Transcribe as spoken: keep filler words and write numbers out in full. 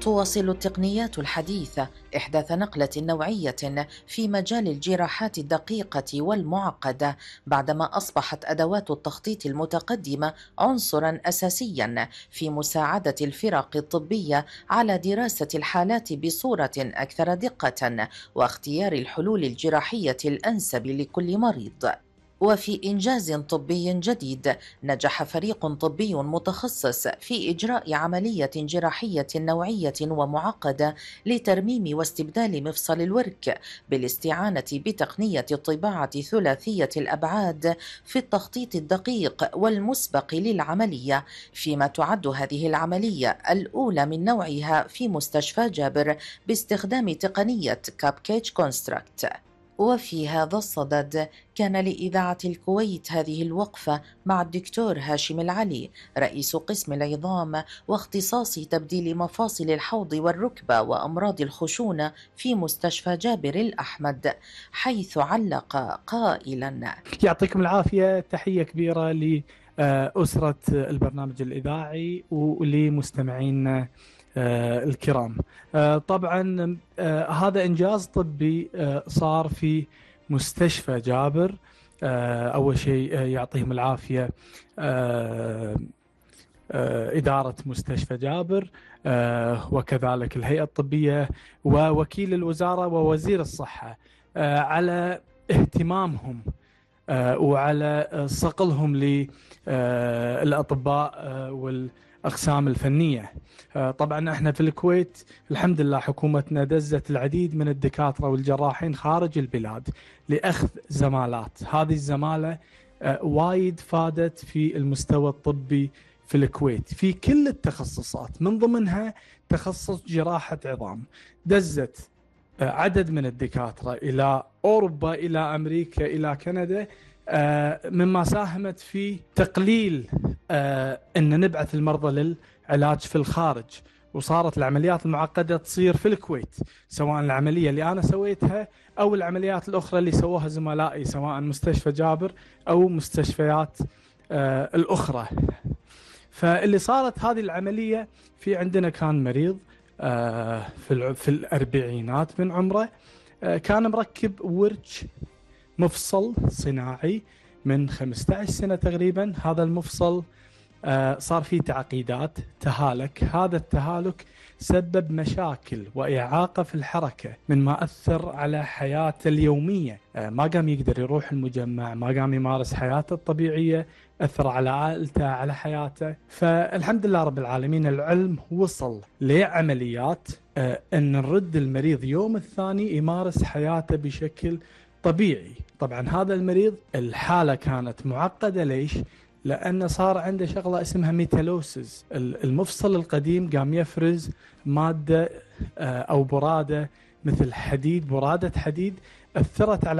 تواصل التقنيات الحديثة إحداث نقلة نوعية في مجال الجراحات الدقيقة والمعقدة، بعدما أصبحت أدوات التخطيط المتقدمة عنصراً أساسياً في مساعدة الفرق الطبية على دراسة الحالات بصورة أكثر دقة واختيار الحلول الجراحية الأنسب لكل مريض. وفي إنجاز طبي جديد، نجح فريق طبي متخصص في إجراء عملية جراحية نوعية ومعقدة لترميم واستبدال مفصل الورك بالاستعانة بتقنية الطباعة ثلاثية الأبعاد في التخطيط الدقيق والمسبق للعملية، فيما تعد هذه العملية الأولى من نوعها في مستشفى جابر باستخدام تقنية كاب كيج كونستراكت. وفي هذا الصدد كان لإذاعة الكويت هذه الوقفة مع الدكتور هاشم العلي رئيس قسم العظام واختصاص تبديل مفاصل الحوض والركبة وأمراض الخشونة في مستشفى جابر الأحمد، حيث علق قائلا: يعطيكم العافية، تحية كبيرة لأسرة البرنامج الإذاعي ولمستمعين آه الكرام. آه طبعا آه هذا إنجاز طبي آه صار في مستشفى جابر. آه أول شيء آه يعطيهم العافية آه آه إدارة مستشفى جابر آه وكذلك الهيئة الطبية ووكيل الوزارة ووزير الصحة آه على اهتمامهم آه وعلى صقلهم للأطباء آه وال أقسام الفنية. طبعا احنا في الكويت الحمد لله حكومتنا دزت العديد من الدكاترة والجراحين خارج البلاد لأخذ زمالات. هذه الزمالة وايد فادت في المستوى الطبي في الكويت في كل التخصصات، من ضمنها تخصص جراحة عظام. دزت عدد من الدكاترة إلى أوروبا، إلى أمريكا، إلى كندا، مما ساهمت في تقليل آه أن نبعث المرضى للعلاج في الخارج، وصارت العمليات المعقدة تصير في الكويت، سواء العملية اللي أنا سويتها أو العمليات الأخرى اللي سووها زملائي سواء مستشفى جابر أو مستشفيات آه الأخرى. فاللي صارت هذه العملية في عندنا كان مريض آه في, في الأربعينات من عمره، آه كان مركب ورش مفصل صناعي من خمسة عشر سنة تقريبا. هذا المفصل آه صار فيه تعقيدات، تهالك. هذا التهالك سبب مشاكل وإعاقة في الحركة، من ما أثر على حياته اليومية. آه ما قام يقدر يروح المجمع، ما قام يمارس حياته الطبيعية، أثر على عائلته، على حياته. فالحمد لله رب العالمين العلم وصل لعمليات آه أن نرد المريض يوم الثاني يمارس حياته بشكل طبيعي. طبعا هذا المريض الحالة كانت معقدة. ليش؟ لأنه صار عنده شغلة اسمها ميتالوسيس. المفصل القديم قام يفرز مادة أو برادة مثل حديد، برادة حديد أثرت على